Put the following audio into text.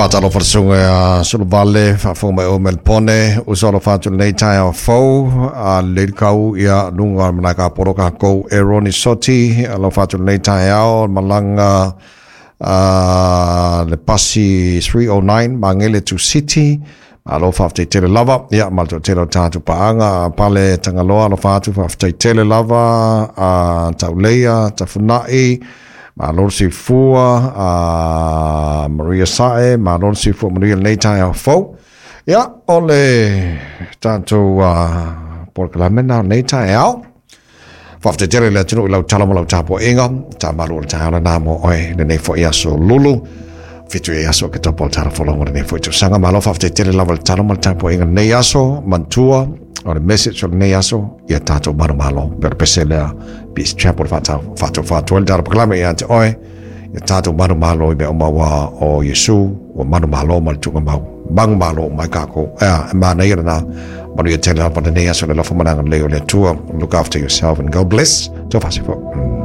Faatalofa le susuga ia Suluvale, faafofoga mai oe mai le pone, uso alofa atu i lenei taeao fou, a lelei le kau ia luga o le malae kapolo tatou Eroni Soti, alofa atu i lenei taeao, malaga a le pasi 309 Magele to City. Malo faafetai tele lava, ia ma le toatele o tatou paaga, Pale Tagaloa, alofa atu, faafetai tele lava, a Tauleia Tafunai, malo le soifua, a Maria Sae, malo le soifua manuia lenei taeao fou. Ia, o le tatou polokalame na o lenei taeao. Faafetai tele i le atunuu i lau tala ma lau tapuaiga. Tamalu o le taeao lena mo oe lenei foi aso lulu. 7 e aso ke topo o le tala folongo lenei foi tausaga. Malo faafetai tele lava le tala ma le tapuaiga lenei aso. Manatua o le message o lenei aso ia tatou manumalo. Pe o le pese lea Peace Chapel faatau faatu ai le tala pakalame ia te oe. Ia tatou manumalo i mea uma ua o Iesu ua manumalo ma le tuugamau. Manumalo mai kākou. Ea, e manaia lena. Manuia tele lava lenei aso le alofa ma le agalelei o le Atua. Look after yourself and God bless. Tau faasifua.